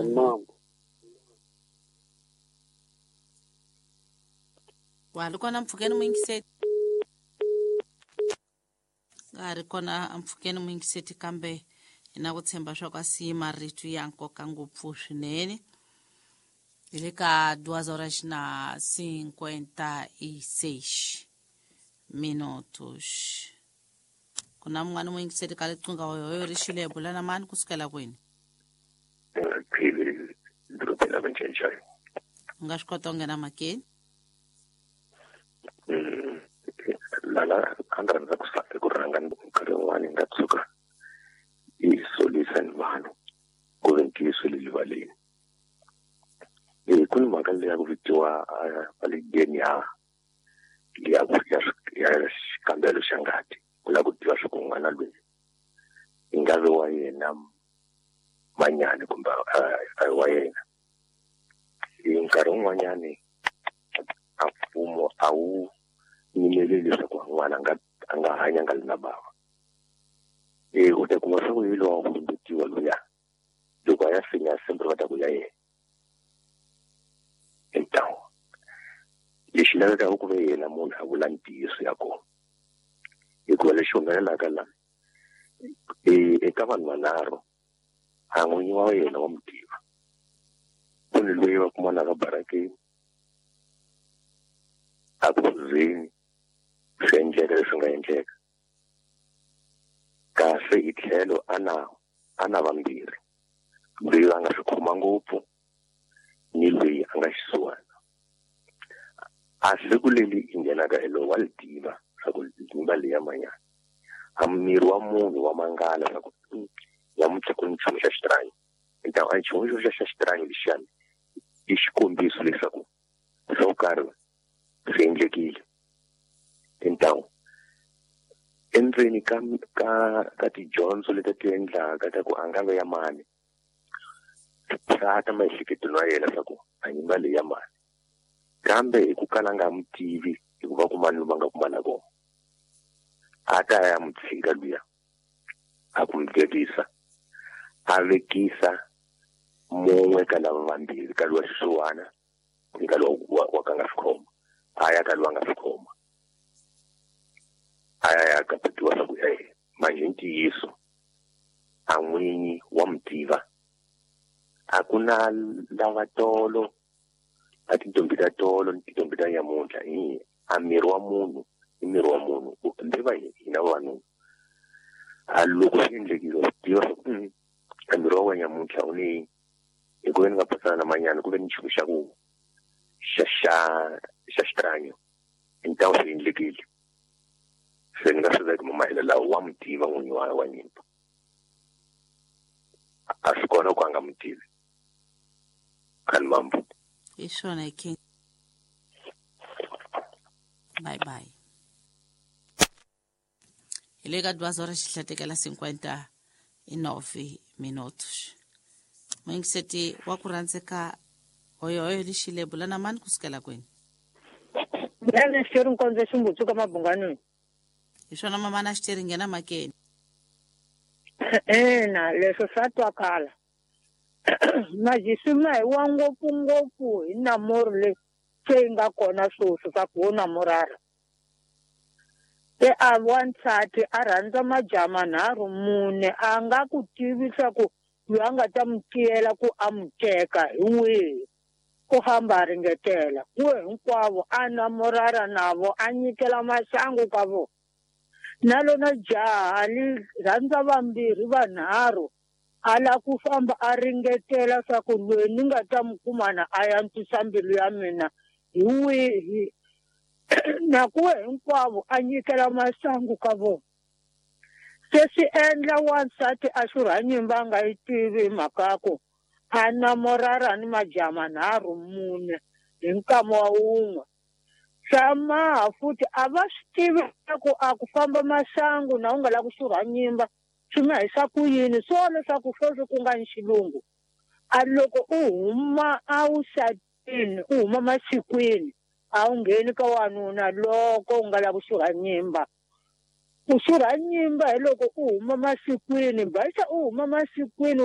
Mambo. Wa ri kona mpfhukeni muyingiseti nga ha ri kona mpfhukeni muyingiseti kambe hi na ku tshemba swa ku a siyi marito ya nkoka ngopfu swinene hi le ka 2h56. Ku na mun'wana muyingiseti ka liqingha hoyohoyo ri xile bula na mani kusukela kwini? Phili dorobeni ra Manchenchai. U nga swi kota ku nghena makeni? Lala a ni rhandza ku ku rhanga nkarhi wun'wani nga tshuka yi solisa ni vanhu ku ve ntiyiso le rivaleni. Ku ni mhaka leyi ya ku vitiwa valigeni ya ya ya xikambelo xa ngati ku lava ku tiva swa ku n'wana loyi i nga vi wa yena manyani kumbe a wa yena. Hi nkarhi wun'wanyani a mfumo a wu yimeleli leswaku n'wana a nga hanya nga li na bava. U ta kuma swa ku yi lowa ku lumbetiwa luya loko a ya finya sembri va ta ku ya yena. Hintawo lexi lavekaka ku ve yena munhu a vula ntiyiso ya kona, hikuva lexi humelelaka la eka vanhu vanharhu a n'winyi wa yena wa mutiva. Ku ni loyi va kumanaka barakeni a ku zeni swi endleka leswi nga endleka kasi hi tlhelo a na vambirhi, loyi a nga swi khoma ngopfu ni loyi a nga xisiwana. A siku leri i nghenaka hi lowu wa li tiva swa ku nyimba leyi ya manyana a miri wa munhu wa mangala swa ku nyamuntlha ku ni nchumu xa xitranyo. A nchumu xa xitranyo lexiyani i xikombiso leswaku swo karhi swi endlekile. Hintawo endzeni ka ka ka tidyondzo leti ti endlaka ta ku a nga ve ya mani swa ta maehleketweni wa yena swa ku a nyimba leyi ya mani, kambe hi ku kala nga n'wi tivi hikuva kumani lomu a nga kumana kona a ta ya n'wi tshika luya a ku n'wi vekisa a vekisa mun'we ka lava vambirhi ka luwa xisiwana ni ka luwa wa ka nga swi khoma a ya ka luwa nga swi khoma a ya ya kapetiwa swa ku manje ntiyiso a n'winyi wa n'wi tiva. A ku na lava tolo a tintombi ta tolo ni tintombi ta nyamuntlha hi a miri wa munhu i miri wa munhu mbe va hina vavanuna. A loko swi endlekile wa swi tiva swa ku a miri wa wena nyamuntlha u ni hi ku ve ni nga pasana na manyana ku ve ni nchumu xa ku xa xa xa xitranyo hintawo swi endlekile. Se ni nga swi veki mahelo lawa wa n'wi tiva n'winyi wa nyimba a swi kona ku a nga n'wi tivi. Khani mambo hi swona hi king. Bye bye. Hi le ka 2h59. Muyingiseti wa ku rhandzeka hoyohoyo lexile bula na mani kusukela kwini? Mina xiteri nkondzo ximbutsu ka mabunganweni. Hi swona mamana xiteri nghena makeni. Ina leswo swa twakala. Majisima hi wa ngopfu ngopfu hi namoro leyi se yi nga kona sweswi swa ku wo namorara. Se a wansati a rhandza majaha manharhu mune a nga ku tivi swa ku loyi a nga ta n'wi tiyela ku a n'wi teka hi wihi. Ku hamba a ringetela kuwe hinkwavo a namorara navo a nyikela maxangu ka vona. Na lona jaha li rhandza vambirhi vanharhu a la ku famba a ringetela swa ku loyi ni nga ta n'wi kumana a antswisa mbilu ya mina hi wihi. Na kuwe hinkwavo a nyikela maxangu ka vona. Se swi endla wansati a xurha nyimba a nga yi tivi hi mhaka ya ku a namorara ni majaha manharhu mune hi nkama wa wun'we. Swa maha futhi a va swi tivi ku a ku famba maxangu na u nga lavi ku xurha nyimba swi nga hisa ku yini swo leswaku sweswi ku nga ni xilungu. A loko u huma a wu xatini u huma masikwini a wu ngheni ka wanuna loko u nga lavi ku xurha nyimba. Ku xurha nyimba hi loko u huma masikwini, baxa u huma masikwini.